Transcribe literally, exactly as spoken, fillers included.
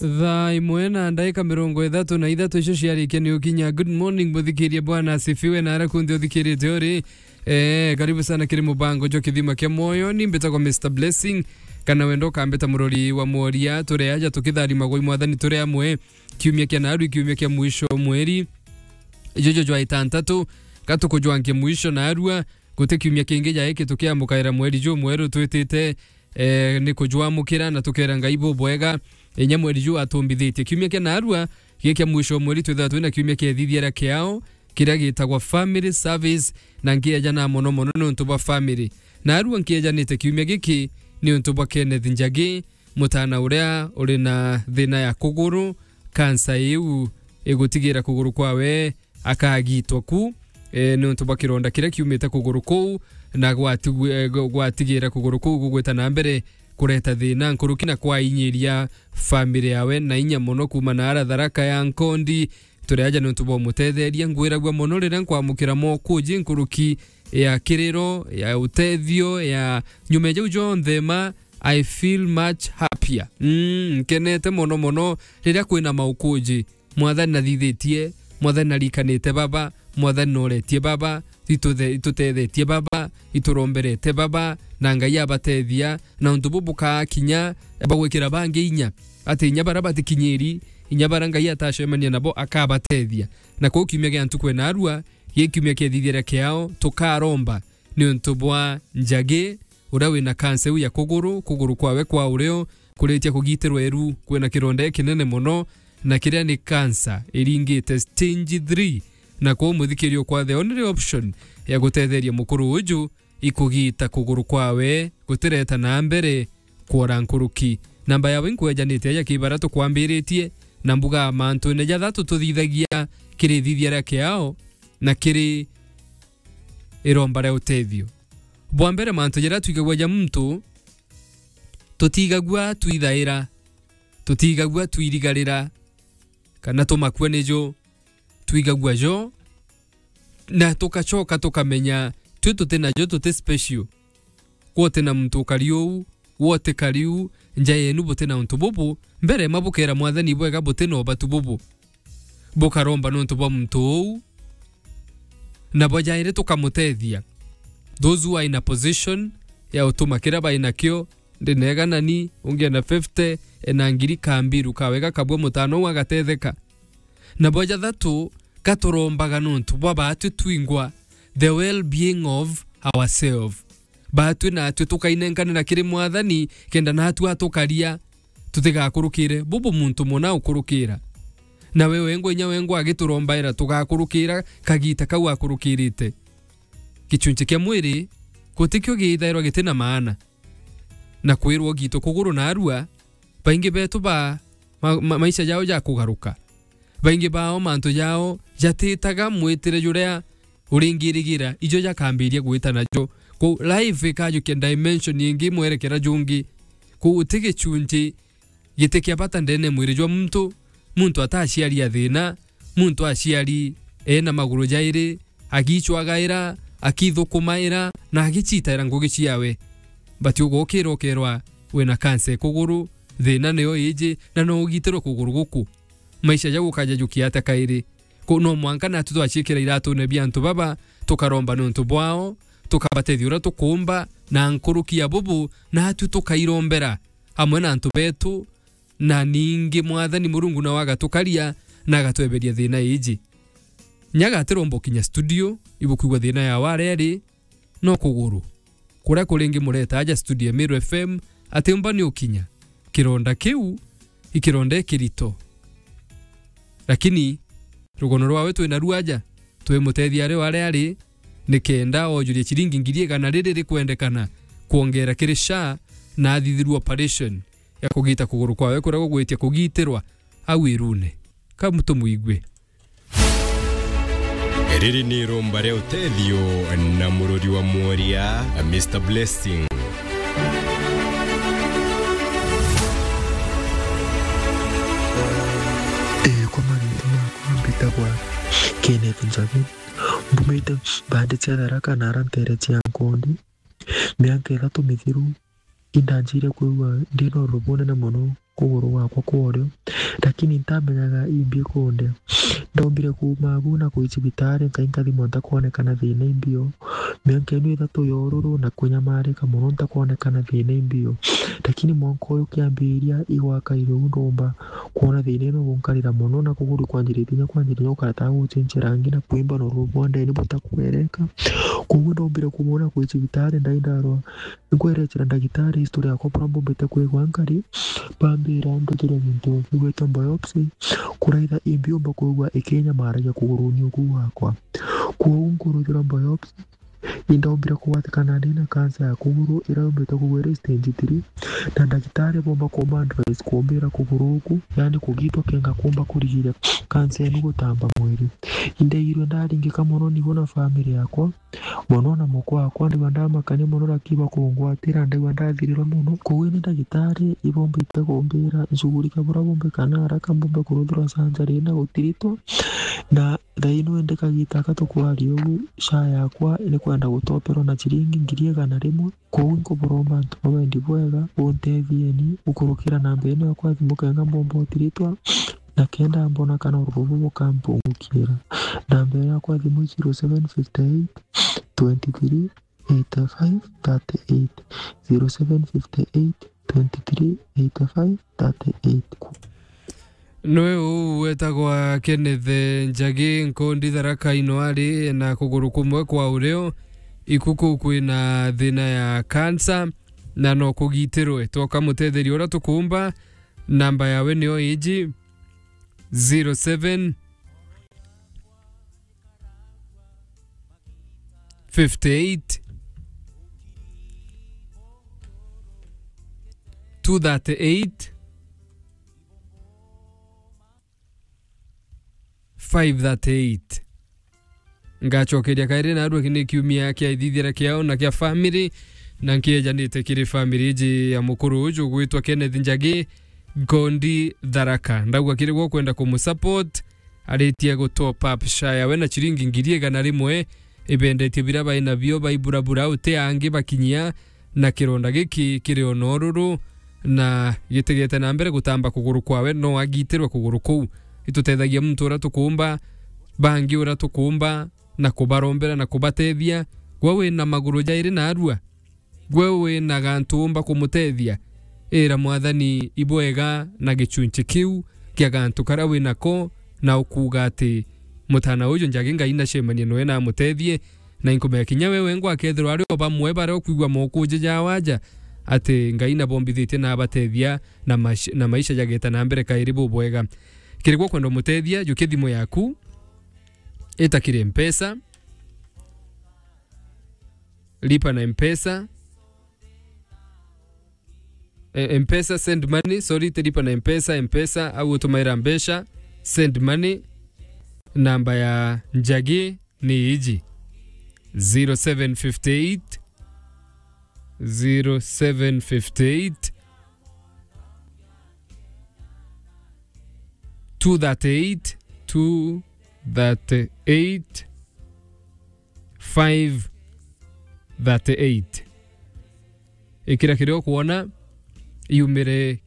Thaa imwe na ndaika mirongo ithatu na ithatu icio ciarikia ni ukinya. Good morning, muthikirie, Bwana asifiwe, na ara kunthe uthikirite uri. Eh, karibu sana kiri mubango jwa Kithima kia Mwoyo. Ni mbitagwa Mister Blessing, kana wenda ukambita murori wa mworia. Turi aja tukitharimagwa i Mwathani turi amwe. Kiumia kia naarua, kiumia kia mwisho mweri. Ijojo jwa itantatu, gatukujwankia mwisho naarua, guti kiumia kingi ja iki tukiamukaira mweri juu mweru twitite, eh, ni kujwamukira na tukera Ngai bubwega. Inya mweri juu atumbithitie. Kiumia kia naarua, giki kia mwisho mweri twithagwa twina kiumia kia ithithia ria kiao, kiria gitagwa family service, na nkieja na mono mono niuntu bwa family. Naarua nkiejanite kiumia giki niuntu bwa Kenneth Njagi, mutana uria uri na thina ya kuguru, kansa iu igutigira kuguru kwawe akagitwa ku, e, niuntu bwa kironda kiria kiumite kuguru kuu, na gwatigu-, e, gw-, gwatigira kuguru kuu gugwita na mbere kureta thina nkuruki na kwainyiria family yawe na inya mono kuuma na ara Tharaka ya Nkondi. Turi aja niuntu bwa umutetheria. Ngwiragua mono riria nkwamukira mokuji nkuruki ya kiriro, ya utethio, ya nyuma ya jau jonthe ma, I feel much happier. Mm, nkenete mono mono riria kwina maukuji. Mwathani nathithitie, Mwathani narikanite baba, Mwathani noretie baba, ituthe-, itutethetie baba, ituromberete baba, na Ngai abatethia, na untu bubu bukakinya, bagwikira bangi inya. Ati inya bara batikinyiri, inya bara Ngai atacemania nabo akabatethia. Na kwou kiumia gia ntuku ya naarua, gi kiumia kia ithithia ria kiao, tukaromba niuntu bwa Njagi, uria wina kansa iu ya kuguru, kuguru kwawe kwa urio kuritia kugitirwa iru, kwina kironda kinene mono, na kiria ni kansa iringite stage three, na kwou muthikiria ukwa the only option ya gutetheria mukuru uju ikugita kuguru kwawe gutireta na mbere kwora nkuruki. Namba yawe nkwejanite aja kibara tukwambiritie, na mbuga mantune jathatu tuthithagia kiri ithithia ria kiao na kiri iromba ria utethio. Bwa mbere, mantu jaria twigagua ja muntu, tutigagua twithaira, tutigagua twirigarira, kana tumakua nijo twigagua jo, na tukacoka tukamenya twi tuti najo, tuti special. Gwe uti na muntu ukari uu, gwe utikari uu, nja yenu buti na untu bubu, mbere ma bukera Mwathani bwega buti na ubatu bubu. Bukaromba niuntu bwa muntu uu, na bwa jairi tukamutethia. Those who are in a position ya utuma kiria bai nakio, ndi nega nani, ungi ena fifty, ena ngiri, kambiru kawega kabua mutano uu agatetheka. Na bwa jathatu, gaturombaga niuntu bwa baatwi twingwa, the well-being of ourselves. Baatwi naatwi tukainenkanira kiri Mwathani, kenda naatwi atukaria, tutigakurukire bubu muntu muna ukurukira. Na we wengwa, inya wengwa agiturombaira, tugakurukira kagiita kau akurukirite. Gichunchi kia mwiri gutikio giithairwa giti na maana. Na kwirwa ugiitwe kuguru naarua, baingi betu ba ma-, ma-, maisha jao jakugaruka. Baingi bao mantu jao jatitaga mwitire juria uringirigira, ijo jakambiria gwita najo. Kwou life ikajukia dimension ingi, mwerekera jungi. Kwou uti gichunchi giti kia bata ndene mwiri jwa muntu. Muntu ataciari a thina, muntu aciari ena maguru jairi, agicwagaira, akithukumaira, na agicitaira ngugi ciawe. But ugokira ukerwa wina kansa ya kuguru, thina niyo iji, na no ugitirwe kuguru guku. Maisha jau ukajajukia atia kairi? Kwou no mwanka natu twaciikira iratune bia antu baba, tukaromba niuntu bwao, tukabatethia uria tukuumba, na nkuruki ya bubu, natu tukairombera amwe na antu betu, na ningi Mwathani Murungu nawe agatukaria na agatweberia thina iji. Nyaga atiromba ukinya studio, ibukwigua thina yawe aria ari, no kuguru. Kuria kuringi mureta aja studio ya Meru F M, atiumba ni ukinya. Kironda kiu, i kironda ikirito. Lakini rugono rwawe twina ruo aja, twimutethia ari o aria ari, nikenda ojurie ciringi ngiri igana riri rikwendekana kwongera kiri SHA na athithirua operation ya kugita kuguru kwawe kuria gugwitia kugitirwa au irune. Ka tumwigue. Riri ni iromba ria utethio na murori wa mworia, Mister Blessing. Ee, kwa mageeto makwa mbitagwa Kenneth Njagi. Mbumite bandi cia Tharaka na ara nteere cia Nkondi. Miaka ithatu mithiru, indanjirie kwigua ndi na urubu bunene mono. kuguru gwakwa kwa urio, lakini ntamenyaga imbi ikunde. Ndombire kuuma agu na kwi cibitari, nkai nkathimwa ntakwonekana thina imbio. Mianka ino ithatu ya ururu na kunyamarika mono ntakwonekana thina imbio. Lakini mwanka uyu kiambiria igwakaire uu ndomba kwona thina ino gunkarira mono na kuguru kwanjiritie kinya kwanjiriria gukara ta gucinchia rangi na kwimba na ururu bwa ndeni butakwereka. Koguo ndombire kuuma na kwi cibitari ndai ndarwa. Nkweretera ndagitari history yakwa buria mbombete kwigua nkari, bambira nduthirwe gintu gigwitwa biopsy, kuraitha imbi umba kwigua ikinyamaragia kuguruni uku gwakwa. Kwou nkuruthirwa biopsy, indombire kugwatikana ndi na cancer ya kuguru iria yumbite kugwa iri stage three, na ndagitari bomba kumba advice kumbira kuguru uku, yani kugitwa kenga kumba kurigiria cancer inu gutamba mwiri. Indaigirwe ndaringika mono nigo na family yakwa, mono na mukwa wakwa, ndaigua ndamakania mono, lakini bakungwatira, ndaigua ndathirirwa mono. Koguo ni ndagitari ibombite kumbira nshughulikia buria bumbe kana haraka mbumbe kuruthirwa surgery na gutiritwa. Na thaino indi kagita aka tukwaria uu, SHA yakwa ni kwenda gutoperwa na ciringi ngiri igana rimwe. Koguo nkuburomba antu ba wendi bwega, buntethieni gukurukira namba ino yakwa ya thimu kenga mbomba utiritwa, na kenda mbona kana ururu bubu bukampungukira. Namba ino yakwa ya thimu i zero seven fifty eight, twenty three, eighty five, thirty eight, zero seven fifty eight, twenty three, eighty five, thirty eight. Nwe uu wetagwa Kenneth Njagi, Nkondi Tharaka ino ari na kuguru kumwe kwa urio, iku kuu kwina thina ya cancer, na no kugitirwe. Twoka mutetheria uria tukumba, namba yawe nio iji, zero seven fifty eight, two thirty eight, five thirty eight. Ngacokeria kairi narua, ki ni kiumia kia ithithira kiao na kia family, na nkiejanite kiri family iji ya mukuru uju gwitwa Kenneth Njagi, Nkondi Tharaka. Ndauga kiri gwe ukwenda kumusupport, aritie gu top up SHA yawe na ciringi ngiri igana rimwe, ibendetie biria bai nabio baiburabura uti angi bakinyia, na kironda giki kiri o noruru na gitigete na mbere gutamba kuguru kwawe, no agitirwe kuguru kuu. Itutethagia muntu uria tukumba, bangi uria tukumba, na kubarombera na kubatethia. Gwe wina maguru jairi narua, gwe wina gantu umba kumutethia, ira Mwathani ibwega na gichunchi kiu kia gantu karia winako, na ukuuga ati, "Mutana uju Njagi Ngai nacemanie noe na amutethie." Na inkumenya kinya we wengwa akethirwa ari o bamwe baria ukwigua mokuji ja waja, ati Ngai nabombithitie na abatethia na mash-, na maisha jageta na mbere kairi bubwega. Kiri gwe ukwenda umutethia, jukia thimu yaku, ita kiri Mpesa, lipa na Mpesa, eh, Mpesa, send money, sorry, ti lipa na Mpesa, Mpesa, au utumaira mbeca, send money, namba ya Njagi ni iji, zero seven fifty eight, zero seven fifty eight, two thirty eight, two thirty eight, five thirty eight. Ikira kiria ukwona yumire